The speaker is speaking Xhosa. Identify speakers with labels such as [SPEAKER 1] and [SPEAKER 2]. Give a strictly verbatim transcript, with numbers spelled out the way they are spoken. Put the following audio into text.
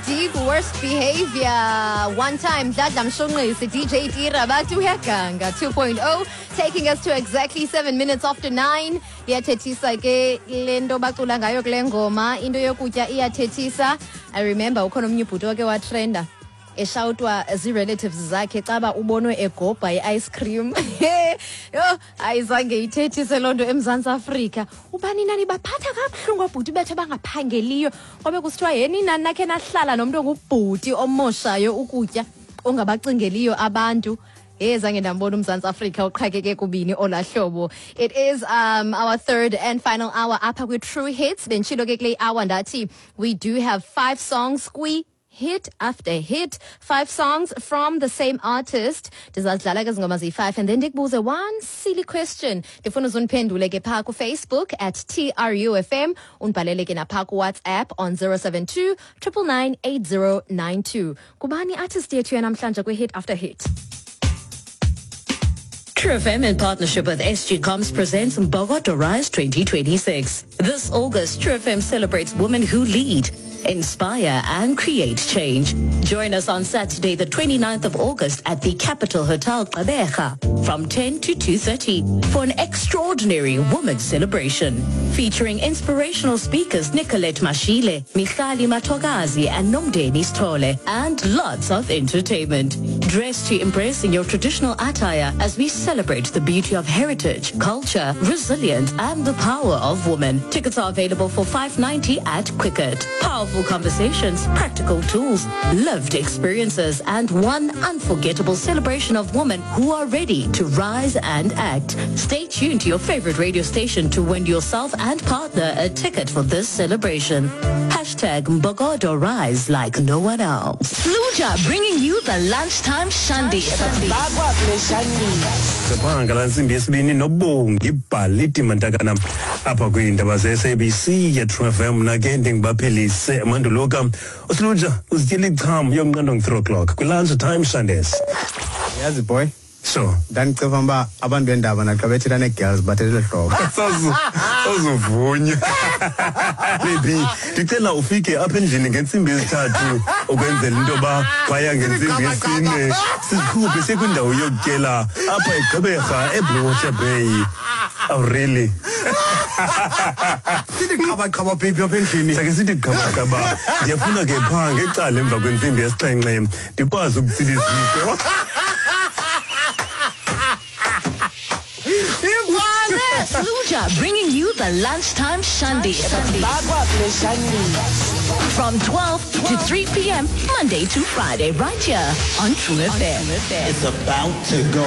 [SPEAKER 1] Deep Worst Behavior. One time, Dladla Mshunqisi, D J Tira, bathi uyaganga two point oh, taking us to exactly seven minutes after nine. Iyathethisa ke le nto bacula ngayo kule ngoma, into yokutya iyathethisa. I remember ukhona omnye ubhuti wake watrenda eshawutwa zii-relatives zakhe caba ubonwe egobha i-ice cream. Yho, ayizange ithethise loo nto eMzantsi Afrika. Ubani nani baphatha kabuhlungu abhuti bethu abangaphangeliyo, kwabe kusithiwa yeni nani nakhe nahlala nomntu ongubhuti omoshayo ukutya, ongabacingeliyo abantu. Hey, zange ndambona uMzantsi Afrika uqhakeke kubini olaa hlobo. It is um, our third and final hour apha kwi-True Hits. Benditshilo ke kule hour ndathi we do have five songs kwi hit after hit, five songs from the same artist. Ndizazidlala ke zingoma ziyi-five and then ndikubuze one silly question. Ndifuna uzundiphendule ke phaa kuFacebook at T R U F M, undibhalele ke naphaa kuWhatsApp on zero seven two nine nine nine eight zero nine two. Kubani artist yethu yanamhlanje kwi-hit after hit?
[SPEAKER 2] True F M in partnership with S G Comms presents Mbokodo Rise twenty twenty-six. This August, True F M celebrates women who lead, inspire and create change. Join us on Saturday, the 29th of August at the Capital Hotel Gqeberha from ten to two thirty for an extraordinary women's celebration featuring inspirational speakers Nicolette Mashile, Michali Matogazi and Nomdeni Stole, and lots of entertainment. Dress to impress in your traditional attire as we celebrate the beauty of heritage, culture, resilience and the power of women. Tickets are available for five ninety at Quicket. Powerful conversations, practical tools, lived experiences and one unforgettable celebration of women who are ready to rise and act. Stay tuned to your favorite radio station to win yourself and partner a ticket for this celebration. Hashtag Mbokodo Rise like no one else.
[SPEAKER 3] Sluja bringing you the lunchtime shandy.
[SPEAKER 4] Siphanga la ntsimbi yesibini noBongi Bhaliti Mantakana apha kwiindaba ze-S A B C ye-True F M. Mna ke ndingibaphelise manduluka uSiluja uzityela icham yomnqando nge-three o'clock kwi-lunch time shandes.
[SPEAKER 5] Yazi boy,
[SPEAKER 4] so
[SPEAKER 5] ndandiciva uba abantu bendaba naxa bethetha nee-girls bathetha hlobo.
[SPEAKER 4] Sazuvunywa baby, ndicela ufike apha endlini ngentsimbi yesithathu ukwenzela into yoba phaya ngentsimbi yesine sikhuphe siye kwindawo yokutyela apha eGqeberha eBlue Water Bay. Oh really?
[SPEAKER 5] Sithi qhabaqhaba baby apha endlini.
[SPEAKER 4] Sake sithi qhabaqhaba. Ndiyafuna ke phaa ngecala emva kwentsimbi yesixhenxe ndikwazi ukutsila iziko.
[SPEAKER 3] Sluja bringing you the lunchtime shandy. From twelve to three p m. Monday to Friday, right here on True F M.
[SPEAKER 6] It's about to go.